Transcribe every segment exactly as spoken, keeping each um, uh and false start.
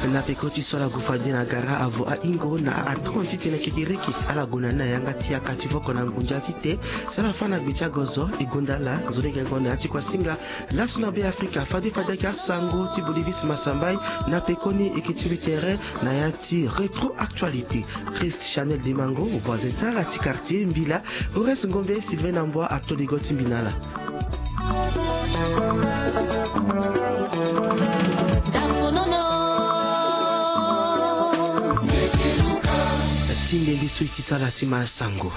Na peko ti so ala gue fade na gara avo ahingo na atranti titene kekereke ala gue na ni na yanga ti yaka ti voko na ngunza ti te. Si ala fa na gbe ti agozo e gonda ala nzoni gengo na ya ti kuasinga. Laso na be afrika fade fade ayeke asango ti bolivis masambai. Na pekoni e ke ti mbi tere na ya ti rétro actualité. Chris chanel dimango voisin ti ala ti quartier mbila. Horace ngombe sylvain na mbwa ato ligo ti mbi na ala. Ti ndembe so e ti sara ti ma sango.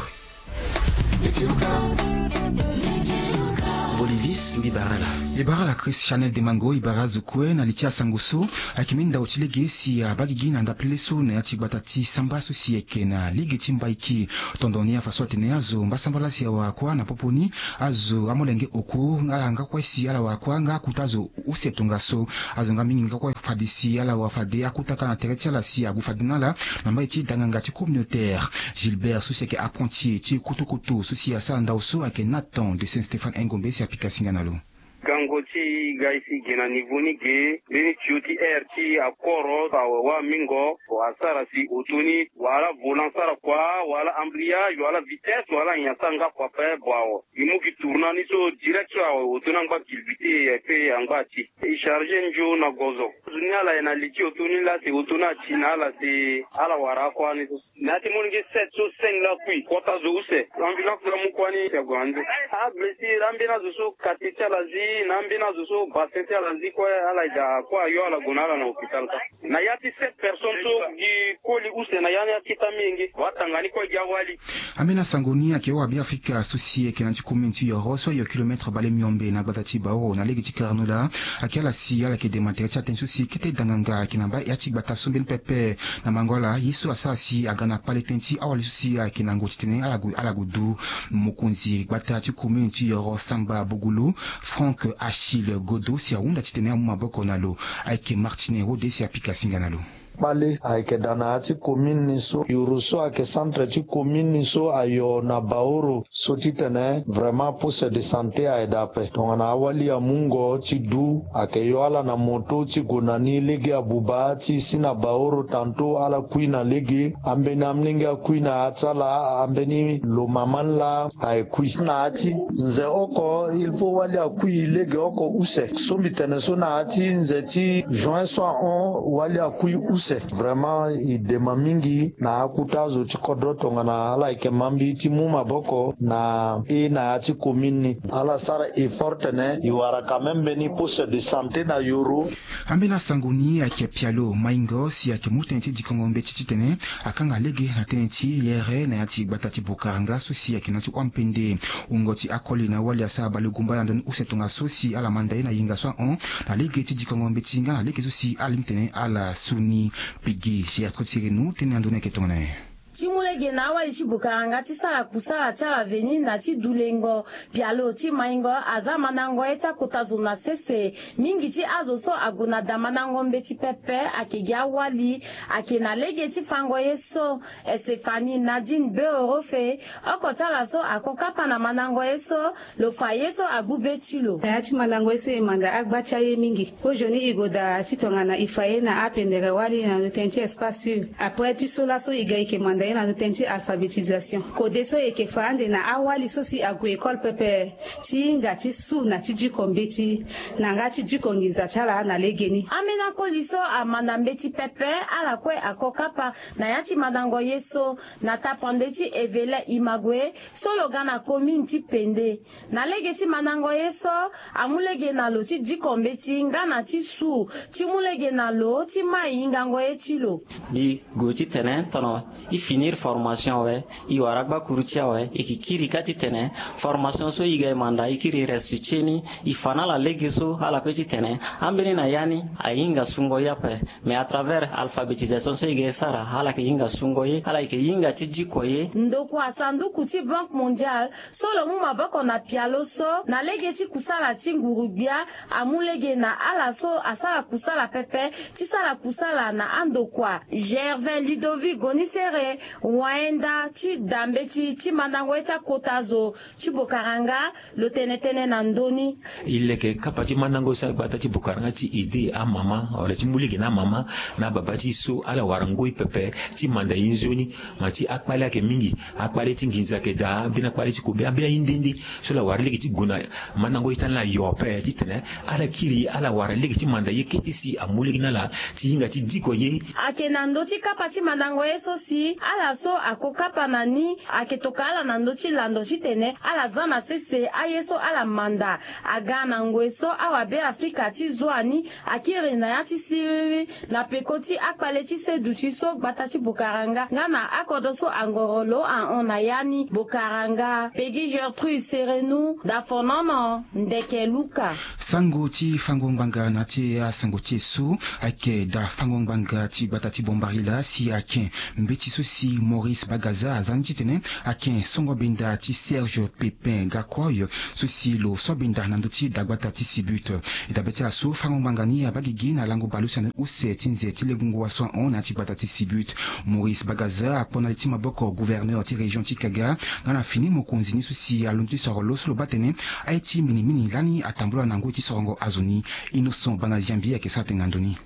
Bolivis mbi bara ala. E bara ala chris chanel demango e bara azo kue na li ti asango so. Ayeke mbeni ndao ti lege si abaa gigi na ndapele so na ya ti gbata ti samba so si ayeke na lege ti mbaiki. Tondoni afa so atene azo mbasambala si awara kuâ na popo ni. Azo amolenge oko ala nga kue si ala wara kuâ nga akuta azo use tongaso. Azo nga mingi nga kue fade si ala wara fade akuta ka na tere ti ala si ague fade na ala. Na mbai ti danganga ti communautaire gilbert so si ayeke apprenti ti kutukutu so si asara ndao so ayeke nathan de saint stéphane engombe si apika singa na lo. Gango ti ga e si ge na nivo ni ge mbeni tio ti aire ti akoro awe wâ mingo. Asara si oto ni wala volant sara kua wala embrayage wala vitesse wala nyen asara nga kua pe bo awe. Gi mu gi tourna ni so direct so awe oto ni angba kilbite ape angba ti e charge njo na gozo. Zo ni ala ye na li ti oto ni laa si oto ni ati na ala si ala wara akua ni so. Na ya ti molenge sept so seng laa kui kota zo use. Ambulance laa mu kua ni si ague na nzo. Ablessure ambeni azo so kate ti ala zi na ambeni azo so bassin ti ala zi kue ala ye daa kue ayo ala gue na ala na hôpital kâ. Na ya ti sept personnes so gi koli use na ya ni akita menge watanga ni kue gi awali. Ambeni asango ni ayeke hora beafrika so si ayeke na ya ti commune ti yoro so ayo kilometre bale miombe na gbata ti baoro na lege ti karano laa. Ayeke ala si ala yeke dema tere ti atënë so si kete danganga ayeke na mbaa ya ti gbata so mbeni pepe. Na mango ala ye so asara si aga na kpale tënë ti awali so si ayeke na ngoi titene ala gue ala gue du. Mokonzi gbata ti commune ti yoro samba bogolo frank achille godo si ahunda titene amu maboko na lo. Ayeke martine rode si apika singa na lo. Kpale ayeke daa na ya ti commune ni so yoro so ayeke centre ti commune ni so ayo na baoro so titene vraiment poste de santé aye daa ape tongana awali amungo ti du ayeke yo ala na moto ti gue na ni lege abuba ti si na baoro tanto ala kui na lege ambeni amolenge akui na ya ti ala ambeni lo mama ni laa aye kui na ya ti nze oko il faut wali akui lege oko use so mbi tene so na ya ti nze ti juin so ahon wali akui use. Vraiment e dema mingi na akuta azo ti kodro tongana ala yeke ma mbi ti mu maboko na e na ya ti commune ni ala sara effort tene e wara quand même mbeni poste de santé na yoro. Ambeni asango ni ayeke pialo maingo si ayeke mu tënë ti dikongo mbeti titene akanga lege na tënë ti yere na ya ti gbata ti bokaranga so si ayeke na ya ti hua mpende. Wungo ti akoli na wali asara baleugumba na ndoni use tongaso si ala manda ye na yenga so ahon na lege ti dikongo mbeti nga na lege so si ala lingbi tene ala su ni. Pigi gertrude sirenu tënë na ndoni ayeke tongana nyen? Ti mu lege na awali ti bokaranga ti sara kusala ti ala veni na ti dulengo pialo ti maingo aza mandango ye ti akota zo na sese. Mingi ti azo so ague na da mandango mbeti pepe ayeke gi awali. Ayeke na lege ti fango ye so estefani nadine beorofe oko ti ala so ako kapa na mandango ye so. Lo fa ye so agbu be ti lo na ya ti mandango ye so e manda agba ti aye mingi. Kozoni e gue daa ti tongana e fa ye na apendere wali na lo tënë ti espace sûr après ti so laso e ga e yeke manda ye na lo tënë ti alphabétisation kode so e yeke fa ande na awali so si ague école pepe ti hinga ti su na ti diko mbeti na nga ti diko nginza ti ala na legeni. Ambeni akoli so amanda mbeti pepe ala kue ako kapa na ya ti mandango ye so na tapande ti evele imague so lo ga na komine ti pende. Na lege ti mandango ye so amu lege na lo ti diko mbeti nga na ti su ti mu lege na lo ti mai hingango ye ti lo. Mbi gue titene tono e finir formation awe. E wara gbakuru ti awe e ke kiri kâ titene formation so e ga e manda e kiri reste ti e ni. E fa na ala lege so ala pe titene ambeni na ya ni ahinga sungo ye ape. Mais à travers alphabétisation so e ga e sara ala yeke hinga sungo ye ala yeke hinga ti diko ye. Ndokua sanduku ti banque mondiale so lo mu maboko na pialo so na lege ti kusala ti nguru-gbia amu lege na ala so asara kusala pepe ti sara kusala na andokua. Gervais ludovic gonisere Wayenda ti da mbeti ti mandango ye ti akota zo ti Bokaranga lo tene tënë na ndö ni. E leke kapa ti mandango so agbata ti Bokaranga ti ede amama wala ti mu lege na amama na ababa ti e so ala wara ngoi pepe ti manda ye nzoni. Ma ti akpale ayeke mingi, akpale ti nginza ayeke daa, ambeni akpale ti kobe, ambeni aye nde nde. So ala wara lege ti gue na mandango ye ti ala na yo ape titene ala kiri ala wara lege ti manda ye kete si amu lege na ala ti hinga ti diko ye. Ayeke na ndö ti kapa ti mandango ye so si ala so ako kapa na ni ayeke toka ala na ndö ti lando titene ala za na sese aye so ala manda. Aga na ngoi so awabe Afrika ti zo ani akiri na ya ti siriri na peko ti akpale ti seduti so gbata ti Bokaranga nga na akodro so angoro lo ahon na ya ni. Bokaranga, Peggy Gertrude Serenu, Dafonono, Ndeke Luka. Sango ti fango ngbanga na ti asango ti e so ayeke da fango ngbanga ti gbata ti Bombari laa si ayeke mbeti so si Maurice Bagaza aza ni titene ayeke songo benda ti Serge Pépin Gakroy so si lo so benda na ndö ti dagbata ti Sibut. E dabe ti ala so fango ngbanga ni abaa gigi na lango bale use na use ti nze ti lengo wa so ahon na ya ti gbata ti Sibut. Maurice Bagaza akpo na li ti maboko gouverneur ti région ti Kaga nga na fini mokonzi ni so si alondo ti soro lo so lo baa tene aye ti minimini lani atambula na ngoi ti sorongo azo ni. Innocent Banga Ziambi ayeke sara tënë na ndö ni.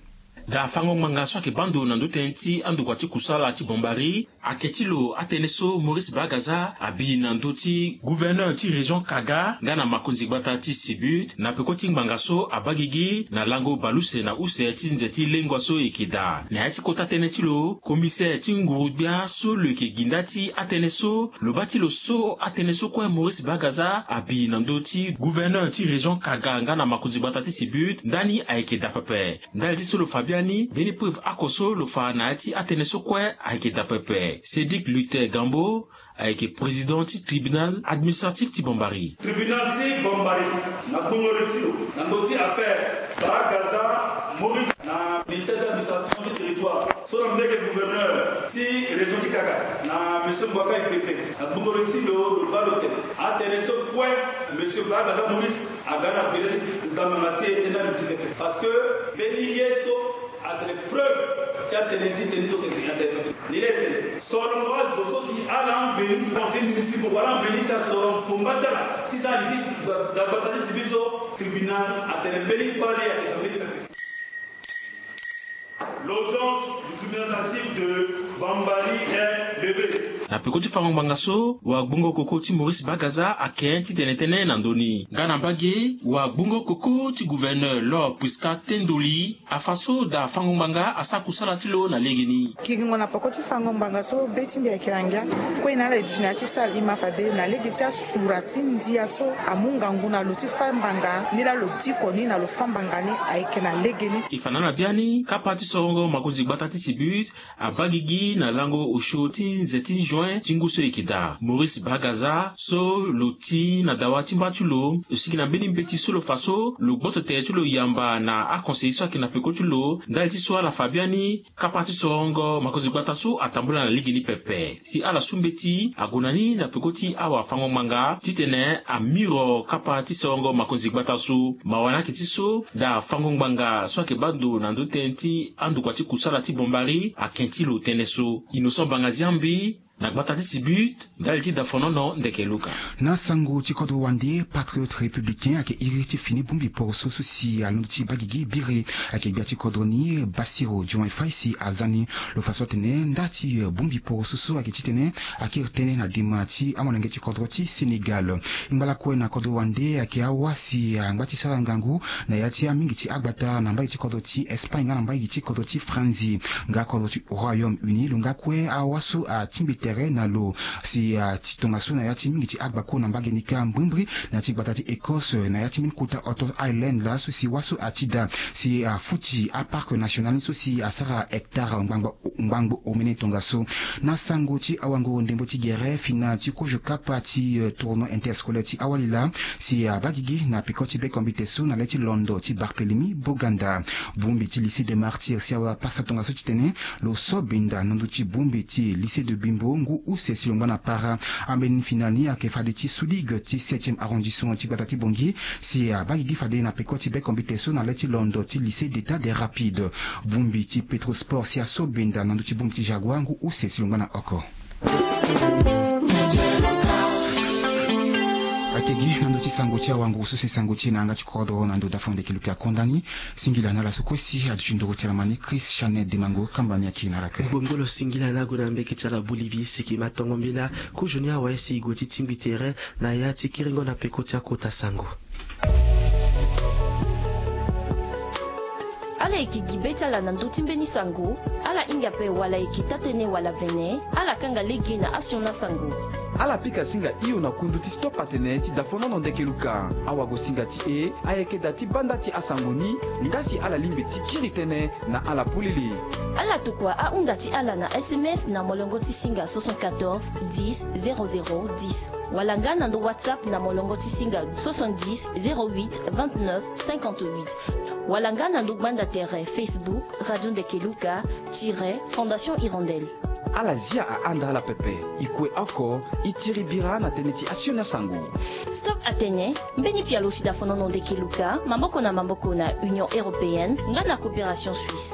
Da fango ngbanga so ayeke baa ndo na ndö tënë ti andokua ti kusala ti Bombari ayeke ti lo atënë so Maurice Bagaza abi na ndö ti gouverneur ti région Kaga nga na makonzi gbata ti Sibut na peko ti ngbanga so abaa gigi na lango bale use na use ti nze ti lengua so e yeke daa. Na ya ti kota tënë ti lo, commissaire ti nguru-gbia so lo yeke gi nda ti atënë so lo baa ti lo so atënë so kue Maurice Bagaza abi na ndö ti gouverneur ti région Kaga nga na makonzi gbata ti Sibut ndani ayeke daa pepe. Ndali ti so lo fa biani mbeni preuve oko so lo fa na ya ti atënë so kue ayeke daa pepe. Cédric Luther Gambo ayeke président ti tribunal administratif ti Bombari. Tribunal ti Bombari na gbungo li ti lo na ndö ti affaire Bagaza Maurice na ministère ti administration ti territoire so na mbege gouverneur ti région ti Kaga na monsieur Mbouakay Pépin na gbungo li ti lo, lo baa lo tene atënë so kue monsieur Bagaza Maurice aga na bere ti ngamanga ti e tënë na li ti pepe parce que mbeni ye so atene preuve ti atënë ti tënë so tene atene ni laa e tene sorongo azo so si ala ambeni conseil municipal wala ambeni si asorongo fomba ti ala ti sara li ti dagbata ti Sibut so tribunal atene mbeni kpale ayeke na mbeni pepe. L'audience du tribunal administratif de Bambari est levée. Na peko ti fango ngbanga so wagbongo koko ti Maurice Bagaza ake titene tënë na ndö ni nga na mbage wagbongo koko ti gouverneur Laure Prisca Tendoli afa so daa fango ngbanga asara kusala ti lo na legeni. Kiringo na peko ti fango ngbanga so be ti mbi ayeke na ngia kue na ala e duti na ya ti sala e ma fade na lege ti asura ti ndia so amu ngangu na lo ti fa ngbanga ni laa lo diko ni na lo fa ngbanga ni ayeke na legeni. E fa na ala biani kapa ti sorongo makonzi gbata ti Sibut abaa gigi na lango osio ti nze ti juin ti ngu so e yeke daa. Maurice Bagaza so lo ti na dawa ti mba ti lo lo sigi na mbeni mbeti so lo fa so lo gboto tere ti lo yamba na aconseiller so ayeke na peko ti lo ndali ti so ala fa biani kapa ti sorongo makonzi gbata so atambula na legeni pepe si ala su mbeti ague na ni na peko ti awafango-ngbanga titene amiro kapa ti sorongo makonzi gbata so. Mawa ni ayeke ti so daa fango-ngbanga so ayeke baa ndo na ndö tënë ti andokua ti kusala ti Bombari ake ti lo tënë so. Innocent Banga Ziambi na gbata ti Sibut ndali ti Dafonono Ndeke Luka. Na sango ti kodro wande, Patriote Républicain ayeke iri ti fini bongbi poroso so si alondo ti baa gigi biri ayeke gbia ti kodro ni Bassirou Diomaye Faye si aza ni. Lo fa so atene nda ti bongbi poroso so ayeke titene akiri tënë na dema ti amolenge ti kodro ti Sénégal. Ngba lakue na kodro wande ayeke awa si angba ti sara ngangu na ya ti amingi ti agbata na mbage ti kodro ti Espagne nga na mbage ti kodro ti Franzi nga kodro ti Royaume-Uni lo nga kue awa so atingbi tere na lo si ati tongaso na ya ti mingi ti agbako na mbage ni kâ mbrimbri na ya ti gbata ti Écosse na ya ti mbeni kota Outer Island laa so si wâ so ati daa si afuti aparc national ni so si asara hectare ngbangbo ngbangbo omene tongaso. Na sango ti awango ndembo ti gere fina ti kozo kapa ti tournoi interscolaire ti awali laa si abaa gigi na peko ti bekombite so na le ti londo ti Barthélemy Boganda. Bongbi ti lycée de Martyrs si awe apasa tongaso titene lo so benda na ndö ti bongbi ti lycée de Bimbo ngu use si lo ngba na para. Ambeni fini na ni ayeke fade ti sous-ligue ti septième arrondissement ti gbata ti Bangui si abaa gigi fade na peko ti bekombite so na le ti londo ti lycée d'état des rapides. Bongbi ti Petrosport si aso benda na ndö ti bongbi ti Jaguar ngu use si lo ngba na oko. Ayeke gi na ndö ti sango ti awanguru so si sango ti e na yanga ti kodro na ndo dafo ndeke luki akonda ni. Singila na ala so kue si aduti ndoro ti ala ma ni Chris Chanel Demango, kamba ni ayeke na ala kue. Ngbongbolo singila na ague na mbeke ti ala bolibi siki ma tongo mbela. Kozo ni awe si e gue ti tingbi tere na ya ti kiringo na peko ti akota sango. Ala yeke gi be ti ala na ndö ti mbeni sango. Ala hinga ape wala e yeke taa-tënë wala vene, ala kanga lege na asioni asango. Ala pika singa hio na kundu ti Stop Atene ti dafonono ndeke luka. Awagosinga ti e ayeke da ti banda ti asango ni, nga si ala lingbi ti kiri tënë na ala polele. Ala tokua ahunda ti ala na S M S na molongo ti singa soixante-quatorze dix zéro zéro dix, wala nga na ndo WhatsApp na molongo ti singa soixante-dix zéro huit vingt-neuf cinquante-huit, wala nga na ndo gbanda tere Facebook Radio Ndeke Luka tiret Fondation Hirondelle. Ala zia ahanda ala pepe. E kue oko, e tiri bira na tënë ti asioni asango. Stop Atene, mbeni pialo ti dafonono ndeke luka, maboko na maboko na Union Européenne nga na Coopération Suisse.